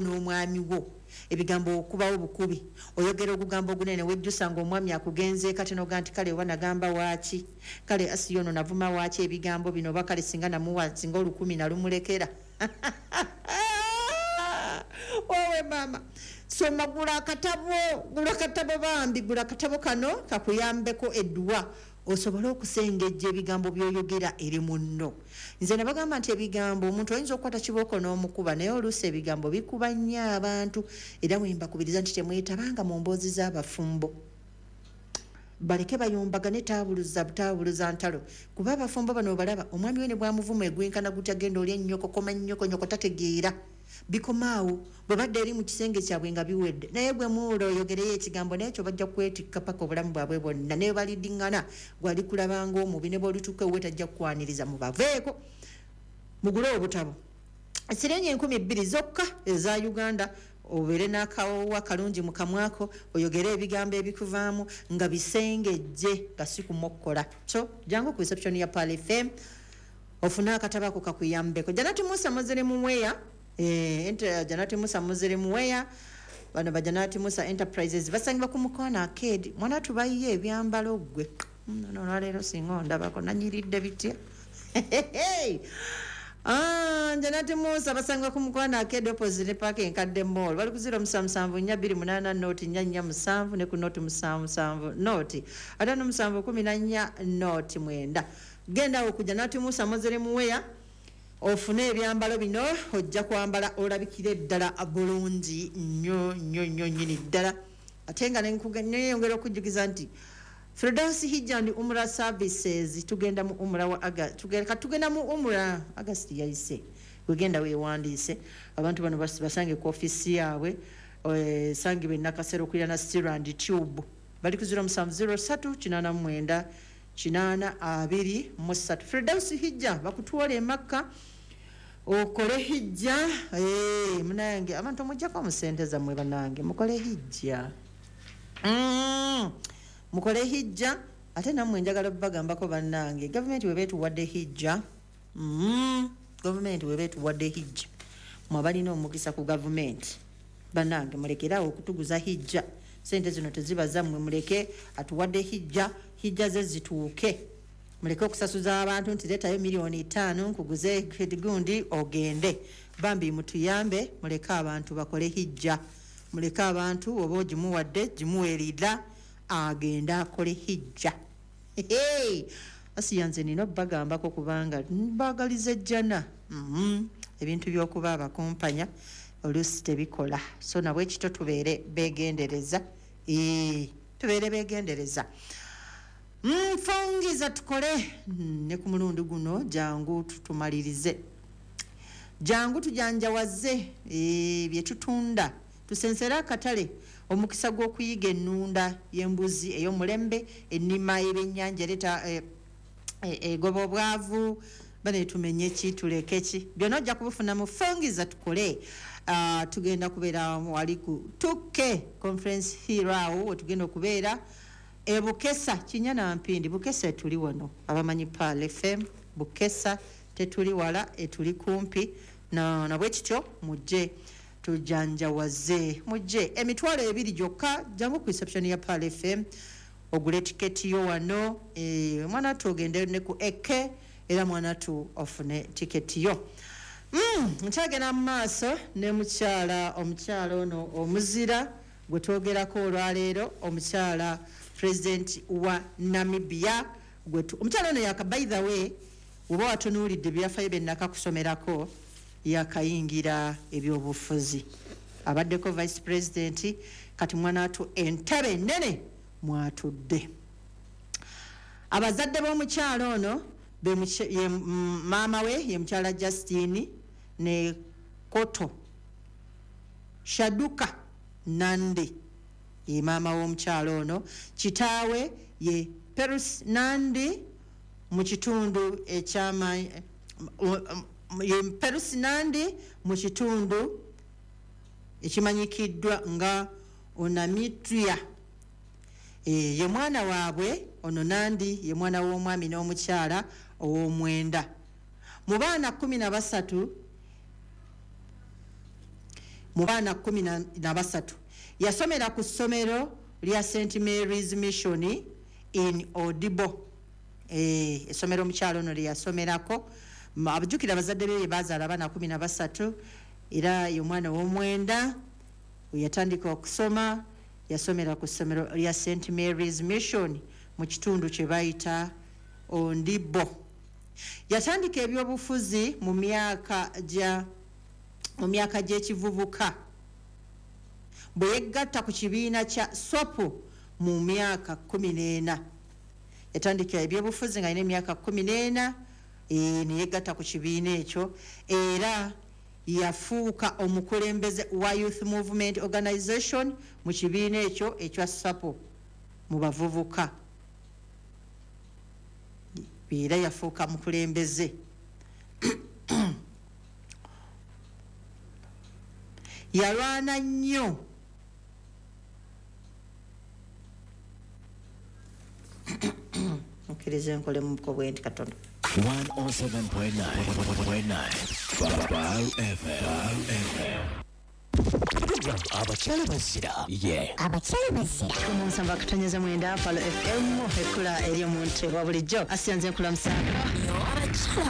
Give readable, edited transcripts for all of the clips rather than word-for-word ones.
n'omwami wo. Ebigambo okubawo bukubi, oyogera ogugambo ogunene, wejjusa nga omwami akugenzeeko, ate noga nti kale oba nagamba waaki, kale Asiya ono navuma waaki ebigambo bino, oba kale singa namuwa, singa olukumi nalumulekera. Owe maama, soma, gula akatabo, gula akatabo bambi, gula akatabo kano kakuyambeko edduwa osobole okusengejja ebigambo by'oyogera eri munno. Nze nabagamba nti ebigambo, omuntu oyinza okukwata kibooko n'omukuba, naye oluusi ebigambo bikuba nnyo abantu. Era bwe mbakubiriza nti temwetabanga mu mboozi z'abafumbo, baleke bayombagane, taabuluza butaabuluza ntalo, kuba abafumbo bano obalaba omwami we ne bwamuvuma egwenkana gutya, genda oli ennyoko, koma nnyoko, nyoko tategeera, bikomaawo bwe badda eri mu kisenge kyabwe nga biwedde. Naye gwe muwula oyogereyo ekigambo, naye ekyo bajja kwetikka paka obulamu bwabwe bwonna. Naye balidiŋŋana, gwali kulabanga omubi, ne bwolituuka ewuwe tajja kukwaniriza. Mubaveeko, mugule obutabo, siringi 2000 zokka eza Uganda, obeere n'akawowa kalungi mu kamwako, oyogere ebigambo ebikuvaamu nga bisengejje, nga si kumokkola. So jangu ku reception ya Pearl FM ofune akatabo ako kakuyambeko. Janati Musa Muslim Wear, Janati Musa Muslim Wear, bano ba Janati Musa Enterprises basangibwa ku Mukono Arcade. Mwana tubayiye ebyambalo. Ggwe no olwaleero singa ondabako nanyiridde bitya. Ah, Janati Musa basangibwa ku Mukono Arcade opposite park enkadde mall. Bali ku 0774 28 0447 ne ku 077 057 14 09. Genda ku Janati Musa Muslim Wear ofune ebyambalo bino, ojja kwambala olabikire ddala bulungi nnyo nnyo nnyo nnyini ddala. Ate nga neyongera okujjukiza nti Firdaus Hijja and Umra Services, tugenda mu umra wa aga tugenda, tugenda mu umra August yayise. Wegenda weewandiise. Abantu bano basange ku ofisi yaabwe, sangibwa enakasero okulira na Steel and Tube. Bali ku 0703 89 80 23. Firdaus Hijja bakutwala emakka okole hijja. Munange, abantu mujjako mu sente zammwe, banange mukole hijja. Mukole hijja. Ate nammwe njagala bagambako, bannange, gavumenti weba etuwadde hijja, gavumenti weba etuwadde hijja, mwe abalina omukisa ku gavumenti, bannange mulekeraawo okutuguza hijja. Sente zino teziba zammwe, muleke atuwadde hijja, hijja ze zituuke. Muleke okusasuza abantu nti leetayo miliyoni 5 nkuguze gundi ogende. Bambi mutuyambe, muleke abantu bakole hijja. Muleke abantu, oba ogimuwadde, gimuweerira agende akole hijja. Asiya nze nina obbagambako kubanga mbagaliza ejjana. Ebintu by'okuba abakumpanya oluusi tebikola, so nabwe kito tubeere begendereza, tubeere begendereza. Nfungiza tukole ne ku mulundi guno, jangu tutumalirize, jangu tujanjawaze bye tutunda, tusensere akatale. Omukisa gw'okuyiga ennunda y'embuzi ey'omulembe, ennima y'ebyennyanja ereeta egoba obwavu, bane tumenye ki, tuleke ki, byonna ojja kubifuna mu Fungiza Tukole. Tugenda kubeera wali ku 2K Conference Hill, awo wetugenda okubeera e Bukesa, Kinya na Mpindi. Bukesa etuli wano, abamanyi Pearl FM, Bukesa tetuli wala, etuli kumpi nabwe kityo. Mujje tujanjawaze, mujje, 20,000 gyokka. Jangu ku reception ya Pearl FM ogule tiketi yo wano. Mwana tu ogende ne ku eke, era mwana tu ofune tiketi yo. Nkyagenda mu maaso ne mukyala, omukyala ono omuzira gwe twogerako olwaleero, omukyala president wa Namibia. Omukyala ono yaka, by the way, oba watunuulidde ebyafayo bye nakakusomerako, yakayingira ebyobufuzi, abaddeko vice president, kati mwanatu entebe enene mwatudde. Abazadde b'omukyala ono ye maama we ye mukyala Justine ne Koto Shaduka Nandi, ye maama w'omukyala ono. Kitaawe ye Perus Nandi mu kitundu ekyama, ye Perus Nandi mu kitundu ekimanyikiddwa nga Onamitria. Ye mwana waabwe ono Nandi, ye mwana w'omwami n'omukyala ow'omwenda mu baana 13. mu baana 13. Yasomera ku ssomero lya St Mary's Mission in Odibo. Essomero omukyalo ono lye yasomerako. Abajjukira abazadde be bazaala abaana 13, era ye omwana ow'omwenda we yatandika okusoma. Yasomera ku ssomero lya St Mary's Mission mu kitundu kye bayita Ondibo. Yatandika ebyobufuzi mu myaka gy'ekivubuka bwe yeggatta ku kibiina kya SWAPO mu myaka 14. Yatandika ebyobufuzi nga alina emyaka 14, ne yegatta ku kibiina ekyo, era yafuuka omukulembeze wa Youth Movement Organization mu kibiina ekyo ekya SWAPO mu bavubuka. Era yafuuka mukulembeze. Yalwana nnyo okkirize nkole mu buko bwe nti katono. 107.9 FM. Abakyala bazira. Abakyala bazira. Omunsamba akatonyeza 9 Palo FM ekula eri omuntu wa bulijjo asiyanze nkula musango.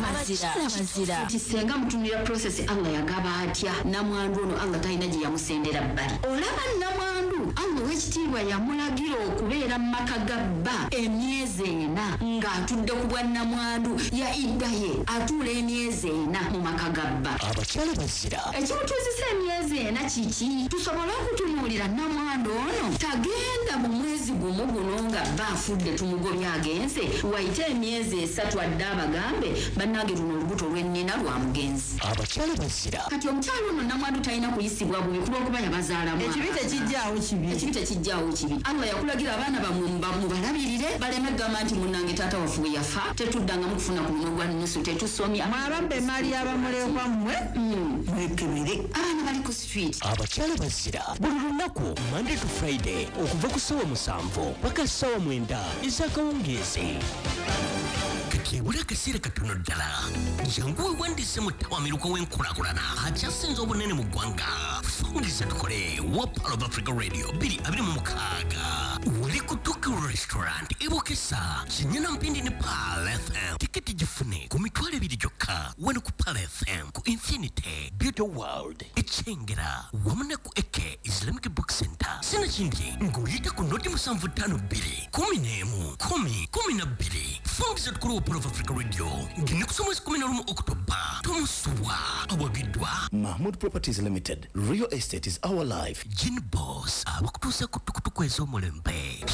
Abakyala bazira. Nti senga mutumira process Allah yagaba atya namwandu ono Allah talina gye yamusendera bbali. Olaba namwandu Allah ow'ekitiibwa yamulagira okubeera mu maka ga bba emyezi 4 ng'atudde ku bwa namwandu ya idda ye atuula emyezi 4 mu maka ga bba. Abakyala bazira. Ekimutuuzisa emyezi 4 kiki? Tusobole okutunuulira namwandu ono tagenda mu mwezi gumu guno nga bba afudde tumugobye agenze wayite emyezi 3 adde abagambe bannange luno olubuto lw'ennina lwa mugenzi. Abakyala bazira. Kati omukyala ono namwandu talina kuyisibwa bubi kulw'okuba yabazaalamu. Ekibi tekijjaawo kibi. Ekibi tekijjaawo kibi. Allah yakulagira abaana bammwe mubalabirire baleme kugamba nti munnange taata waffe bwe yafa tetuddangamu kufuna ku munwe gwa nnusu tetusomya. Mwabambe emaali y'abamulekwa mmwe mwekebere. Abaana bali ku street. Abakyala bazira buli lunaku Monday to Friday okuva ku ssaawa 7 paka ssaawa 9 ez'akawungeezi. Kati ebula akaseera katono ddala jangu weewandiise mu ttawamiruka w'enkulaakulana akyasinze obunene mu ggwanga. Fungiza tukole wa Pearl of Africa Radio 2026 wali ku Tokyo Restaurant ebukesa Kinyana Mpindi ne Pearl FM. Tiketi gifune ku 20,000 gyokka wano ku Pearl FM, ku Infinity Beauty World Ekyengera wamu ne ku Eke Islamic Book Center. Sinakindi ng'oyita ku noti 752 11 10 12. Fungiza tukole wa Pearl of Africa Radio ng'ennaku mwezi 11 Oktoba. Tomusubwa awagiddwa Mahmood Properties Limited. Real estate is our life. Gin Boss abakutuusa ku tukutuku ez'omulembe.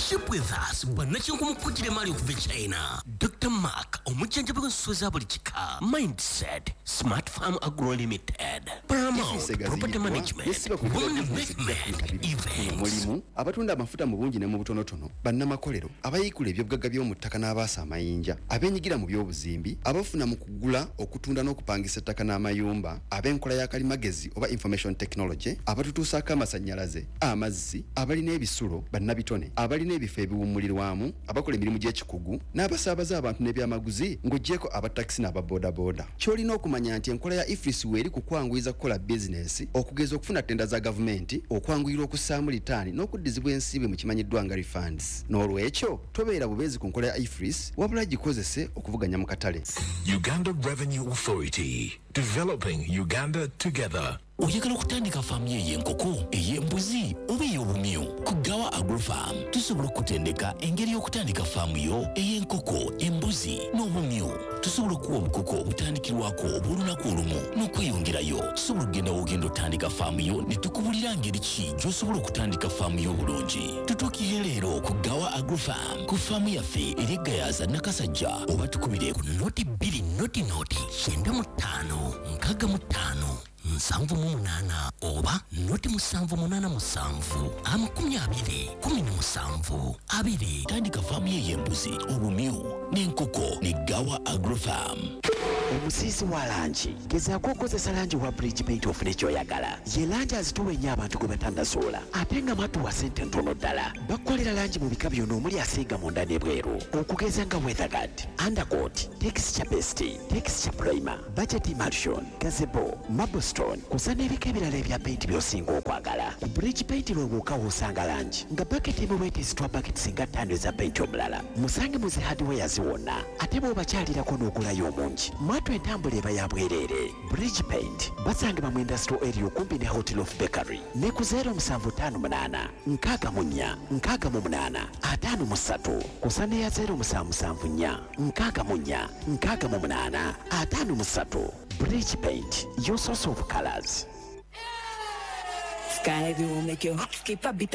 Ship with us bannakyenkumukkukira emaali okuva e China. Dr. Mark omujjanjabi w'ensolo za buli kika. Mindset Smart Farm Agro Limited. Paramount Property Management. Women Movement Events. Mulimu abatunda amafuta mu bungi ne mu butonotono, bannamakolero abayiikula ebyobugagga by'omu ttaka n'abaasa amayinja, abeenyigira mu by'obuzimbi, abafuna mu kugula, okutunda n'okupangisa ettaka n'amayumba, ab'enkola ya kalimagezi oba information technology, abatutuusaako amasannyalaze, amazzi, abalina ebisulo, bannabitone, abalina ebifo ebiwummulirwamu, abakola emirimu gy'ekikugu n'abasaabaza abantu n'ebyamaguzi ng'oggyeko abatakisi n'ababoodabooda. Ky'olina okumanya nti enkola ya EFRIS weeri ku kwanguyiza kukola bizinensi, okugeza okufuna ttenda za gavumenti, okwanguyirwa okussaamu litaani n'okuddizibwa ensimbi mu kimanyiddwa nga refunds. N'olwekyo tobeera bubeezi ku nkola ya EFRIS, wabula gikozese okuvuganya mu katale. Uganda Revenue Authority, developing Uganda together. Oyagala okutandika faamu yo ey'enkoko, ey'embuzi oba ey'obumyu? Ku Gawa Agrofarm tusobola okutendeka engeri y'okutandika faamu yo ey'enkoko, embuzi n'obumyu. Tusobola okuwa obukoko obutandikirwako obw'olunaku olumu n'okweyongerayo. Tusobola okugenda w'ogenda otandika faamu yo ne tukubulira ngeri ki gy'osobola okutandika faamu yo obulungi. Tutuukire leero ku Gawa Agrofarm ku faamu yaffe eri e Gayaza Nakasajja oba tukubire ku noti 2 noti noti 95 65 78 oba noti 787 20 17 2. Tandika faamu ye ey'embuzi, obumyu n'enkoko ne Gawa Agrofarm. Omusiisi wa langi, gezaako okukozesa langi wa Bridge Paint ofune ky'oyagala. Ye langi azitowa ennyo abantu gwe batannazuula, ate nga matuwa ssente ntono ddala. Bakukolera langi mu bika byonna omuli asiiga munda n'ebweru, okugeza nga weatherguard, undercoat, texture paste, texture primer, budget emulsion, gazebo, marblestone, kusa n'ebika ebirala ebya paint by'osinga okwagala. Ku Bridge Paint lwe wokka w'osanga langi nga baketi emu bwetezitwa baketi singa 5 eza paint omulala. Musange mu zi hardwares wonna, ate bw'obakyalirako n'ogulayo omungi, mwatu entambula eba ya bwereere. Bridge Paint basangibwa mu industrial area okumpi ne Hotel of Bakery ne ku 0758 64 68 53, kusa ne ya 0774 64 68 53. Bridge Paint, your source of colors. Sky will make your heart skip a beat.